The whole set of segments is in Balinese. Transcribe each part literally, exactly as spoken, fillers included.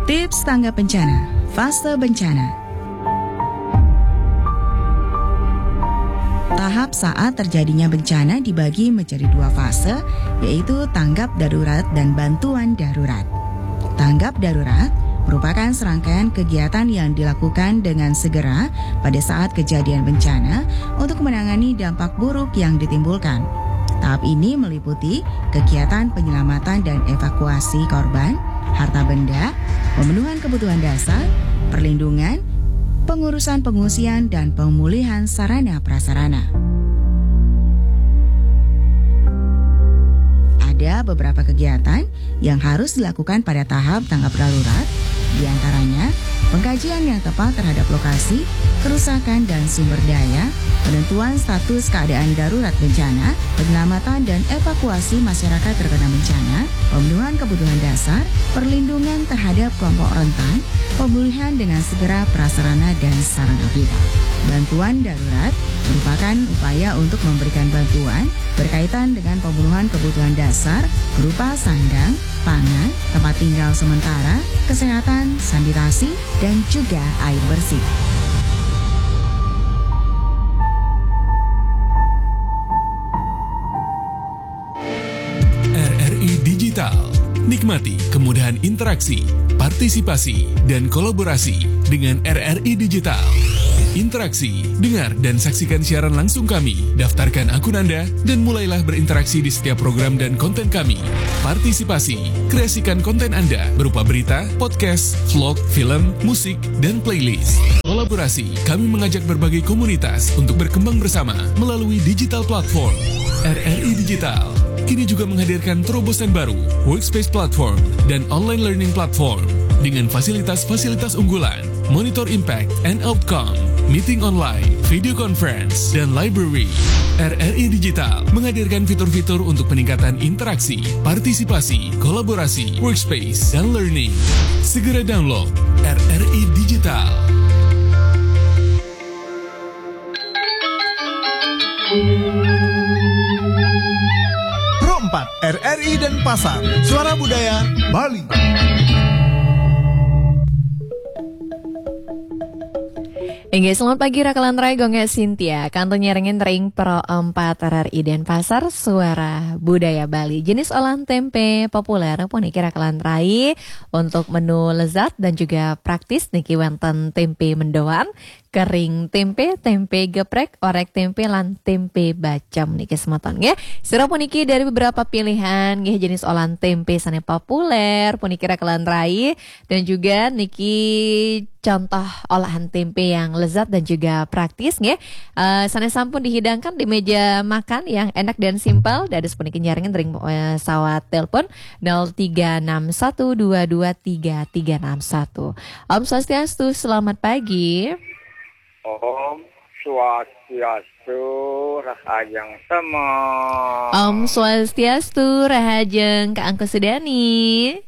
Tips tanggap bencana, fase bencana. Tahap saat terjadinya bencana dibagi menjadi dua fase, yaitu tanggap darurat dan bantuan darurat. Tanggap darurat merupakan serangkaian kegiatan yang dilakukan dengan segera pada saat kejadian bencana untuk menangani dampak buruk yang ditimbulkan. Tahap ini meliputi kegiatan penyelamatan dan evakuasi korban, harta benda, pemenuhan kebutuhan dasar, perlindungan, pengurusan pengungsian, dan pemulihan sarana prasarana. Ada beberapa kegiatan yang harus dilakukan pada tahap tanggap darurat, di antaranya pengkajian yang tepat terhadap lokasi, kerusakan, dan sumber daya, penentuan status keadaan darurat bencana, penyelamatan dan evakuasi masyarakat terkena bencana, pemenuhan kebutuhan dasar, perlindungan terhadap kelompok rentan, pemulihan dengan segera prasarana dan sarana vital. Bantuan darurat merupakan upaya untuk memberikan bantuan berkaitan dengan pemenuhan kebutuhan dasar berupa sandang, pangan, tempat tinggal sementara, kesehatan, sanitasi, dan juga air bersih. R R I Digital. Nikmati kemudahan interaksi, partisipasi, dan kolaborasi dengan R R I Digital. Interaksi, dengar dan saksikan siaran langsung kami. Daftarkan akun Anda dan mulailah berinteraksi di setiap program dan konten kami. Partisipasi, kreasikan konten Anda berupa berita, podcast, vlog, film, musik, dan playlist. Kolaborasi, kami mengajak berbagai komunitas untuk berkembang bersama melalui digital platform. R R I Digital kini juga menghadirkan terobosan baru, Workspace Platform dan Online Learning Platform dengan fasilitas-fasilitas unggulan, monitor impact and outcome, meeting online, video conference, dan library. R R I Digital menghadirkan fitur-fitur untuk peningkatan interaksi, partisipasi, kolaborasi, workspace, dan learning. Segera download R R I Digital. Pro empat, R R I Denpasar, Suara Budaya Bali. Inggih, selamat pagi Rakalan Rai, Gung Cynthia. Kantun nyarengin ring Pro empat R R I Denpasar, Suara Budaya Bali. Jenis olahan tempe populer puniki Rakalan Rai, untuk menu lezat dan juga praktis niki wenten tempe mendoan, kering tempe, tempe geprek, orek tempe, lan tempe bacem niki semeton nggih. Sira puniki dari beberapa pilihan nggih jenis olahan tempe sane populer puniki Rakalan Rai, dan juga niki contoh olahan tempe yang lezat dan juga praktis nggih. Eh, sane sampun dihidangkan di meja makan yang enak dan simpel. Dados puniki nyarengin ring, eh, sawat telepon nol tiga enam satu dua dua tiga tiga enam satu. Om Swastiastu, selamat pagi. Om Swastiastu, rahajeng semeng. Om Swastiastu, rahajeng Kak Angku Sudani.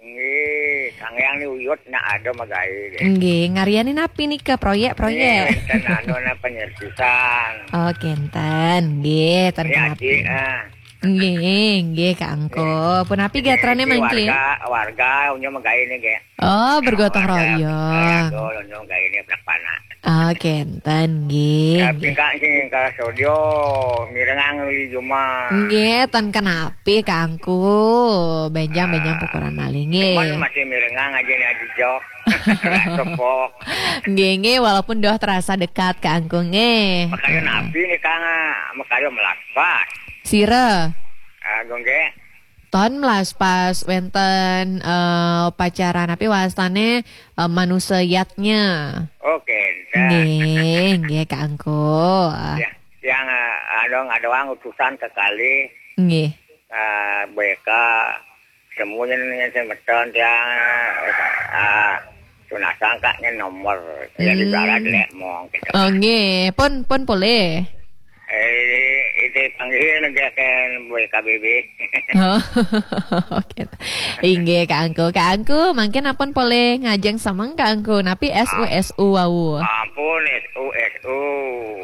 Nggih, sangean ni uyut nak ada magae deh. Nggih, ngaryanin napi nika, proyek-proyek? Nggih, enten anu na penyerpisan. Oh, kenten. Nggih, ten Ini kenapi. Aji, ah. Nggih, nggih Kak Angku. Punapi gatrane Ini mangke? Warga, warga unyu magae ni nggih. Oh, bergotong Warga, royong. Warga unyu magae ni belak panak. Oh, kenten nggih. Tapi Nggih. Kak sing ka studio mirengang li juma. Nggih, ten kenapi Kak Angku. Benjang-benjang pukuran malih nggih. Cuman masih mirengang aja nih Aji Jok. Tepok. Nggih, nggih, walaupun doh terasa dekat Kak Angku nggih. Makanya napi nih Kang, makanya melaspas. Sira. Ah, gue nggih. Ton melaspas wenten, eh, pacaran, tapi wastane, eh, manusia yatnya. Oke, dah. Nggih, nggih Kak Angku. Ya, yang eh, anu ngadoang utusan sekali Nggih. eh, B K semuanya nih semeton tiang eh, tunasang kaknya nomor jadi Hmm. barat lek mong gitu. Oh, nggih, pun pun boleh. Eh, itu panggil nggih kan B K B B. Oh, oke. Inggih Kak Angku. Kak Angku, mungkin ampun boleh ngajeng semeng Kak Angku. Napi S U S U wau. Ampun S U S U.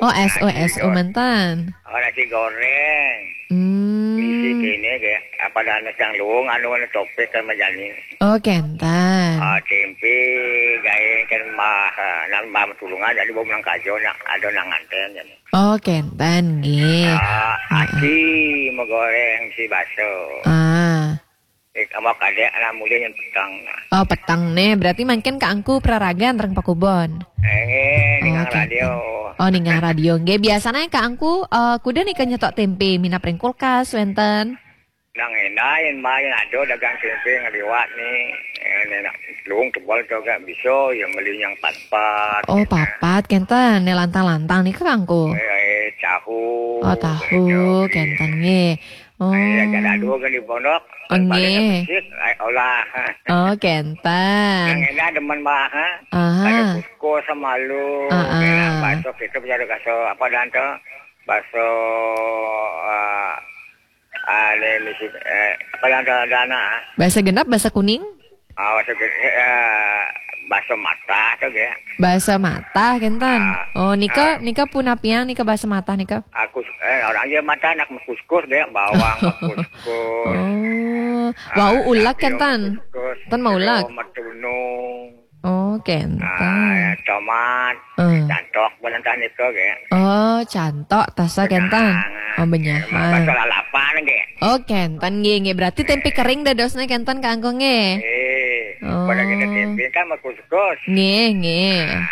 Oh, S U S U menten. Oh, nasi goreng. Hmm. Isi kene nggih. Pada anak yang luung, anu, anu topik kan majani. Oh, kenten. Ah, tempe, gaé kan mah, ah, nang mah tulungan, jadi bawa menang kajo, nak ada nang nganten, jadi. Oh, kenten, nggih. Ah, Heeh. Aki mau goreng si baso. Ah. Eh, sama kadek anak muda yang petang. Oh, petang nih. Berarti mangkin Kak Angku praragan reng pakubon. Eh, Oh, ningang kenten. radio. Oh, ningang radio. Nggih, biasanya Kak Angku, eh, kuda nih nyetok tempe, minap ring kulkas, wenten. Nang endah, yang main ada dagang tempe ngaliwat nih. Eh, enak. Luung tebal tuh gak bisa, ya beli yang papat. Oh, gitu. Papat, kenten. Nih lantang-lantang nih, Kak Angku. Eh, eh, tahu. Oh, tahu, Gitu. kenten, nggih. Oh. Eh, ya, ada dua kan di pondok. Oh, Balik nggih. ke masjid, eh, olah. Oh, kenten. Yang enak demen, Mbak, ha? Aha. Ada kusko sama lu. Ah, ah. Enak, bakso kita bisa ada bakso, apa dan tuh? Bakso, eh, ah, ini misi, eh, apa dan tuh, ada anak, ah? Bakso genep, bakso kuning? Ah, bakso ge-, eh, bakso matah tuh, ya. Bakso matah, kenten. Ah, Oh, nika, ah. nika punapian, nika bakso matah, nika? Aku, eh, orang aja matah, anak kuskus deh, bawang, kuskus. Oh, Ah, wau ulek, tapi kenten? kuskus. Ten mau ulek? Jeruk, metunung. Oh, kenten. Ah, tomat. Eh. Cantok, bukan entah nika, ya. Oh, cantok, tasa, kenten? Benyahan. Oh, benyahan. Bakso lalapan, ya. Oh, kenten, nggih, nggih. Berarti tempe kering dadosnya, kenten, Kak Angku, nggih? Eh, Oh. pada kita tempe kan mau kuskus. Nggih, nggih. Ah,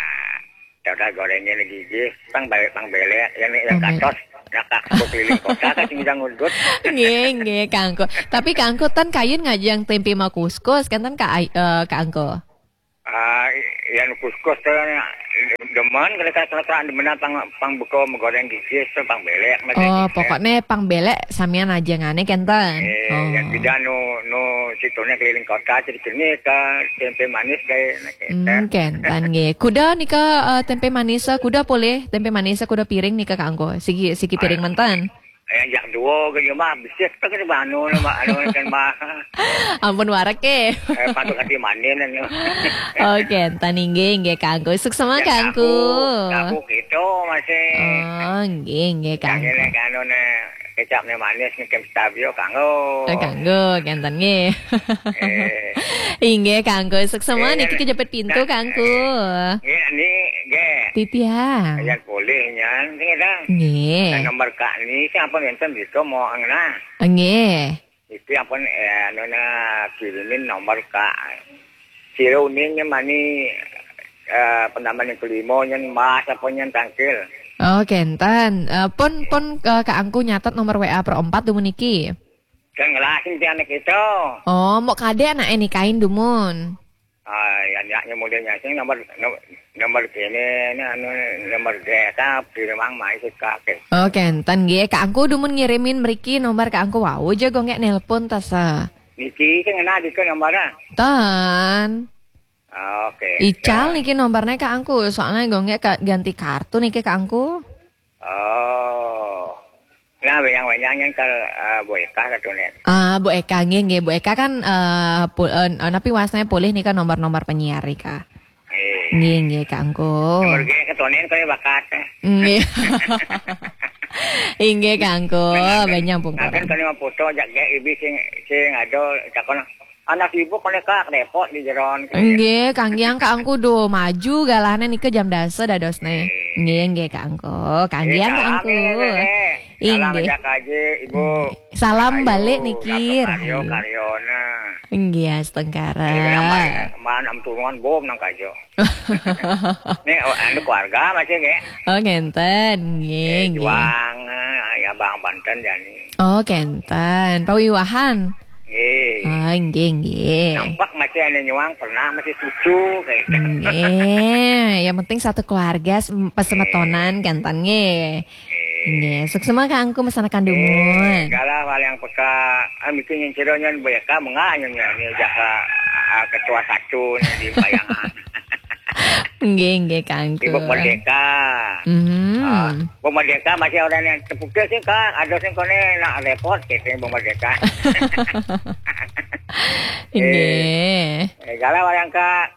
ya udah, gorengnya lagi, nggih. Pang balik, pang belek. Yang, yang Pang belek. katos, nak aku keliling kota, kan sing udah ngudut. Nggih, nggih, Kak Angku. Tapi Kak Angku, ten kayun ngajang tempe mau kuskus, kenten, Kak Ay-, eh, Kak Angku? Ah, yang kuskus tuh, demen, kalau kata demenan pang, pang beko, mau goreng gigis tuh, pang belek, macam Oh, gitu. pokoknya pang belek samian aja ngane, kenten? Eh, Oh. yang tidak nu, nu situnya keliling kota, jadi kini ke tempe manis, kayak, nah, gitu. Hmm, kenten, nggih. Kuda nika, eh, tempe manis, eh, kuda boleh, tempe manis, eh, kuda piring nika, Kak Angku. Sigi, sigi piring Ah. menten. Eh, yang dua ke dia mah, bisik tuh, kita anu, anu, kan, mah. Ampun, warek, eh. Eh, patut hati manin, anu. Oh, kenten, nggih, nggih, Kak Angku. Suksema, Yang Kak Angku. tahu, tahu gitu, masih. Oh, nggih, nggih, Kak Yang ini, Angku. kan, anu, nih, kecap nih manis, nih, kem stabio, kanggo. Eh, kanggo, kenten, nggih. Eh. Inggih, Kak Angku. Suksema, Eh, niki yang kejepit pintu, nah, Kak Angku. eh, nggih, ini, nggih. Titiang. Yang boleh, nyan, sing ada. Nggih. Nah, nomor Kak ini, siapa nonton bisa mau angna? Nggih. Iki ampun, eh, anu, nah, kirimin nomor Kak. Sira uning mani, eh, penambahan yang kelima, yang mas, apa yang tangkil. Oh, kenten. Eh, pun, pun, eh, Kak Angku nyatet nomor W A pro empat dumun niki. Kan ngelasin ti anak itu. Oh, mau kade anak ini kain dumun. Ah, ya, ya, yang muda nyasing nomor, nomor, nomor kene, ini anu, nomor desa, di rumah mai sih kakek. Oh, kenten, nggih. Kak Angku dumun ngirimin mriki nomor Kak Angku wau, aja gonggek nelpon, tasa. Niki, sing ngena di ke nomornya. Ten. Ah, oke. Ical niki nomornya Kak Angku, soalnya gonggek ka-, ganti kartu niki Kak Angku. Oh. Nah, wenyang-wenyang yang ke, eh, Bu Eka katune. Ah, Bu Eka, nggih, nggih. Bu Eka kan, eh, pu-, eh, napi wasne polih nika nomor-nomor penyiar nika. Eh. Nggih, nggih, Kak Angku. Nomor ge ketonen kali bakat, eh. Nggih. Inggih, Kak Angku. Nah, nah, Banyak nah, pungkuran. kan kali mah foto jak ge ibi sing, sing ada cakon anak ibu kone Kak repot di jeron. Nggih, Kang Giang, Kak Angku, duh, maju galahne nika jam dasa dadosne. Nggih, nggih, Kak Angku. Kang Eh, Giang, Kak salam Angku. ya, Nenek. Salam Inggih. ajak aja, Ibu. Salam Ayu, balik niki, Ratu Karyo, Rahayu. Karyona. Nggih, astungkara. Eh, kenapa ya? Man, am tulungan bom nang kajo. Nih, oh, anu keluarga masih, nggih? Oh, ngenten, nggih, Eh, nggih. Juang, eh, ya, Bang Banten, jani. Oh, kenten. Pawiwahan? Nggih. Oh, nggih, nggih. Nampak masih anu nyuang, pernah masih cucu, kayak gitu. Nggih. Yang penting satu keluarga, sem-, pesemetonan, Nggih. kenten, nggih. Nggih. Nggih, suksema Kak Angku mesanakan Eh, dumun. Galah wal yang peka, ah, mungkin yang ciro nyan Bu Eka, mengah nyan, nyan, nyan, jaka, ah, ketua satu nyan di bayangan. Nggih, nggih, Kak Angku. Ibu Merdeka. Mhm. Ah, Bu Merdeka masih orang yang tepuknya sih, Kak. Ada sih kone nak repot, gitu, Bu Merdeka. Nggih. Eh, galah wal yang Kak,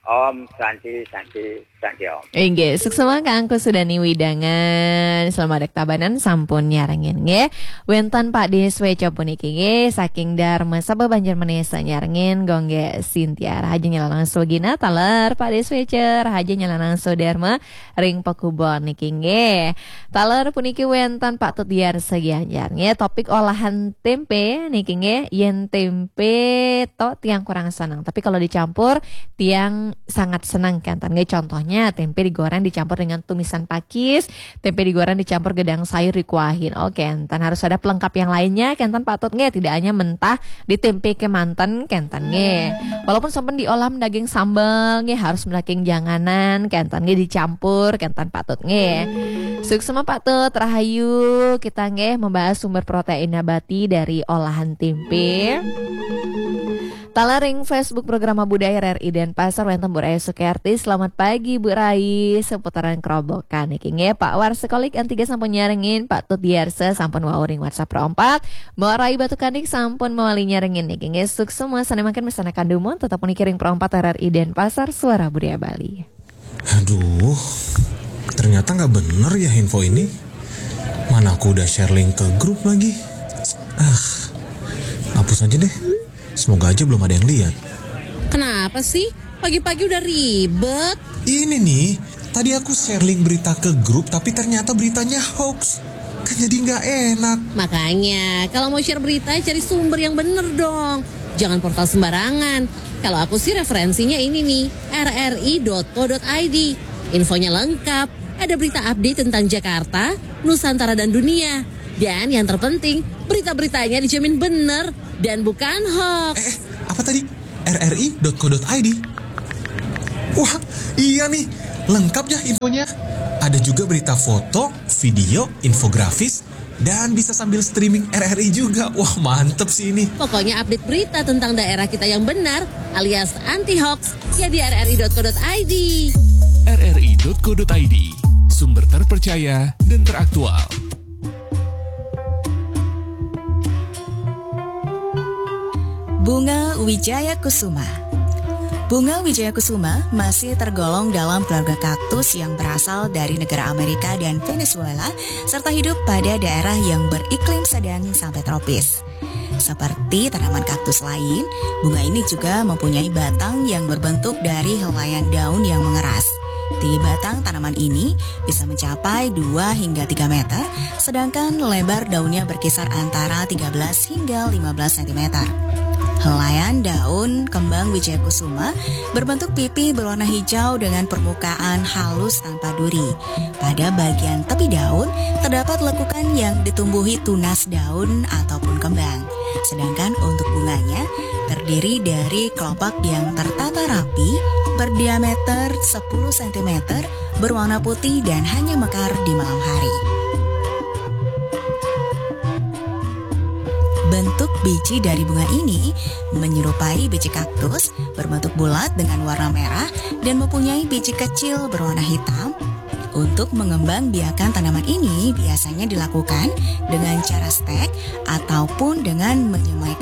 Om Santi, Santi, Santi Om. Inggih, suksma kangku sudani widangan. Selamat tabanan sampun nyarengin nggih. Wénten Pak Dé Swéca puniki nggih saking Dharma Sabha Banjar Menesa nyarengin Gonggé Sintia. Rahaja nyelana sugina taler Pak Dé Swéca, rahaja nyelana sudarma ring pakubon niki nggih. Taler puniki wénten Pak Tut Diarsa Gianyar nggih. Topik olahan tempe niki nggih, yén tempe to tiang kurang seneng. Tapi kalau dicampur tiang sangat senang kenten nggih. Contohnya tempe digoreng dicampur dengan tumisan pakis, tempe digoreng dicampur gedang sayur dikuahin. Oh kenten, harus ada pelengkap yang lainnya kenten Pak Tut nggih. Tidak hanya mentah di tempe kemanten kenten nggih. Walaupun sampun diolah daging sambal nggih, harus daging janganan kenten nggih, dicampur kenten Pak Tut nggih. Suksma Pak Tut, rahayu, kita nggih membahas sumber protein nabati dari olahan tempe. Taler ring Facebook Programa Budaya R R I Denpasar wénten Bu Rai Sukiarti. Selamat pagi Bu Rai, seputaran Kerobokan niki nggih. Pak Warsekolik N tiga sampun nyarengin, Pak Tut Diarsa sampun wau ring WhatsApp Pro empat. Mbok Rai Batu Kandik sampun mawali nyarengin niki nggih. Suksma sané mangkin mesanakan dumun tetep puniki ring Pro empat R R I Denpasar, Suara Budaya Bali. Aduh, ternyata nggak bener ya info ini. Mana aku udah share link ke grup lagi. Ah, hapus aja deh. Semoga aja belum ada yang lihat. Kenapa sih? Pagi-pagi udah ribet. Ini nih, tadi aku share link berita ke grup tapi ternyata beritanya hoax. Kan jadi nggak enak. Makanya, kalau mau share berita, cari sumber yang bener dong. Jangan portal sembarangan. Kalau aku sih referensinya ini nih, R R I dot co dot I D. Infonya lengkap. Ada berita update tentang Jakarta, Nusantara dan dunia. Dan yang terpenting, berita-beritanya dijamin bener dan bukan hoax. Eh, apa tadi? R R I dot co dot I D. Wah, iya nih. Lengkap ya infonya. Ada juga berita foto, video, infografis, dan bisa sambil streaming R R I juga. Wah, mantep sih ini. Pokoknya update berita tentang daerah kita yang benar alias anti hoax ya di R R I dot co dot I D. R R I dot co dot I D, sumber terpercaya dan teraktual. Bunga Wijaya Kusuma. Bunga Wijaya Kusuma masih tergolong dalam keluarga kaktus yang berasal dari negara Amerika dan Venezuela, serta hidup pada daerah yang beriklim sedang sampai tropis. Seperti tanaman kaktus lain, bunga ini juga mempunyai batang yang berbentuk dari helaian daun yang mengeras. Tinggi batang tanaman ini bisa mencapai dua hingga tiga meter, sedangkan lebar daunnya berkisar antara tiga belas hingga lima belas sentimeter. Helaian daun kembang Wijaya Kusuma berbentuk pipi berwarna hijau dengan permukaan halus tanpa duri. Pada bagian tepi daun terdapat lekukan yang ditumbuhi tunas daun ataupun kembang. Sedangkan untuk bunganya terdiri dari kelopak yang tertata rapi, berdiameter sepuluh sentimeter, berwarna putih dan hanya mekar di malam hari. Bentuk biji dari bunga ini menyerupai biji kaktus, berbentuk bulat dengan warna merah dan mempunyai biji kecil berwarna hitam. Untuk mengembang biakan tanaman ini biasanya dilakukan dengan cara stek ataupun dengan menyemaikan